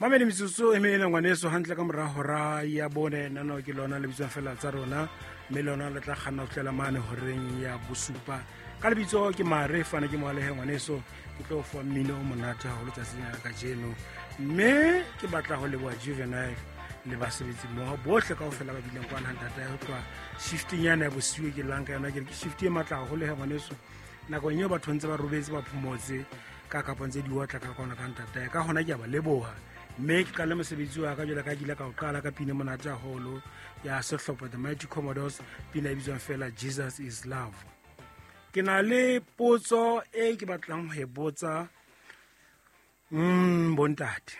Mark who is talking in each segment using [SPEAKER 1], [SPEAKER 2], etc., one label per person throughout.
[SPEAKER 1] Mamedi metsotso e mene ngwaneso hantle ka mora hora ya bone. Nano ke lona le bitswang fela tsa rona, mme lona le tla kganna ho fihlela mane horeng ya bosupa. Ka lebitso ke Mare Fane, ke moalehe ngwaneso, ke tlo fa mmino o monate haholo tsatsing la kajeno. Mme ke batla ho leboha Juvenile le basebetsi mmoho bohle kaofela ba bileng kwana ntata ya ho tloha shifting yana ya bosiu e ke llang ka yona. Ke re ke shift e matla haholo he ngwaneso, nakong eo batho ntse ba robetse ba phomotse ka kapong tse di otla ka kona ka ntatae. Ka hona ke a ba leboha, mme ke qale mosebetsi wa ka jwale ka ke ile ka o qala ka pina monate haholo ya sehlopha The Mighty Commodores, pina e bitswang fela Jesus Is Love. Ke na le potso e ke batlang ho e botsa bontate,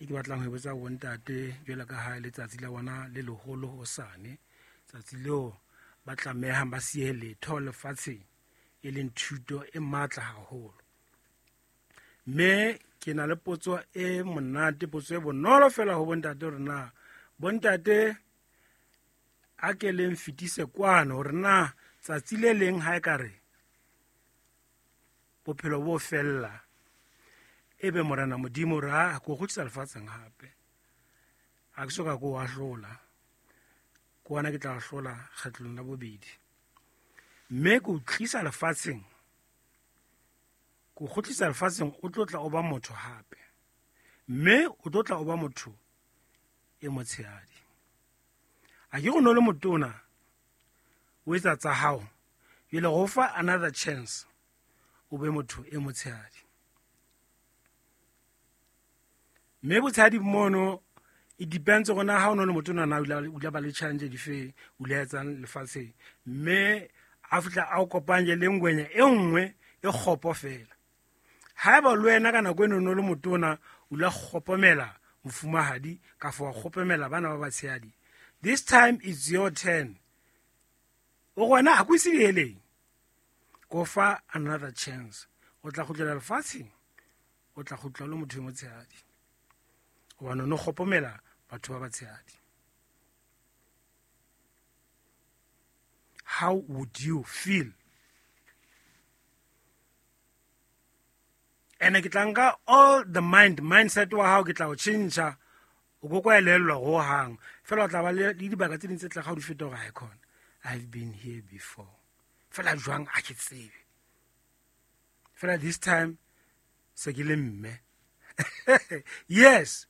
[SPEAKER 1] e ke batlang ho e botsa bontate jwale ka ha letsatsi la bona le leholo hosane, tsatsi leo ba tlamehang ba siye letho lefatsheng, e leng thuto e matla haholo. Mme ke na le potso e monate, potso e bonolo fela ho bontate, hore na bontate a ke leng fetise kwano hore na tsatsi le leng ha e ka re bophelo bo fella, ebe Morena Modimo re a ko kgutlisa lefatsheng hape, a ke soka ko ahlola, ke wona ke tla ahlola kgetlong la bobedi, mme ke o tlisa lefatsheng, ko kgutlisa lefatsheng, o tlo tla o ba motho hape, mme o tlo tla o ba motho e motshehadi. A ke go no le motona o etsa tsa hao, jwale go fa another chance o be motho e motshehadi. Mme botshehadi mono it depends gona ha o no le motona na o ile ba le challenge dife, o ile etsang lefatsheng, mme a fihla a o kopanye le ngwenya e nngwe e kgopo fela. Haeba le wena ka nako eno no le motona o la kgopomela mofumahadi ka fa wa kgopomela bana ba batshehadi, this time it's your turn. O gona a ko ise diheleng, ko fa another chance, o tla kgutlela lefatsheng, o tla kgutla le motho e motshehadi, hobane o no kgopomela batho ba batshehadi. How would you feel? Ene ke tla nka all the mindset wa hao, ke tla o tjhentjha, o ko kwa elellwa ho hang fela. O tla ba le dibaka tse ding tse tla ga o di feta hore ha e khona, I've been here before fela jwang a ke tsebe fela, this time se ke le mme. Yes,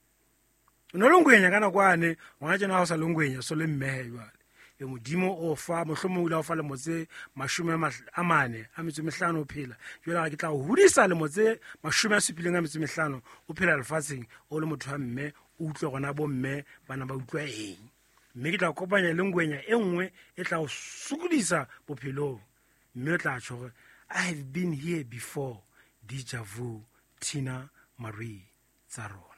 [SPEAKER 1] o ne le ngwenya ka nako ane, ngwana tjena ha o sa le ngwenya, so le mme he jwale. E Modimo o fa mohlomong o ile a o fa lemo tse 45 o phela, jwale ga ke tla o hodisa lemo tse 75 o phela lefatsheng o le motho wa mme, o utlwe gona bo mme bana ba utlwa eng. Mme ke tla kopanya le ngwenya e nngwe e tla o sokodisa bophelong, mme o tla tjho hore I have been here before. Deja vu, Tina Marie, tsa rona.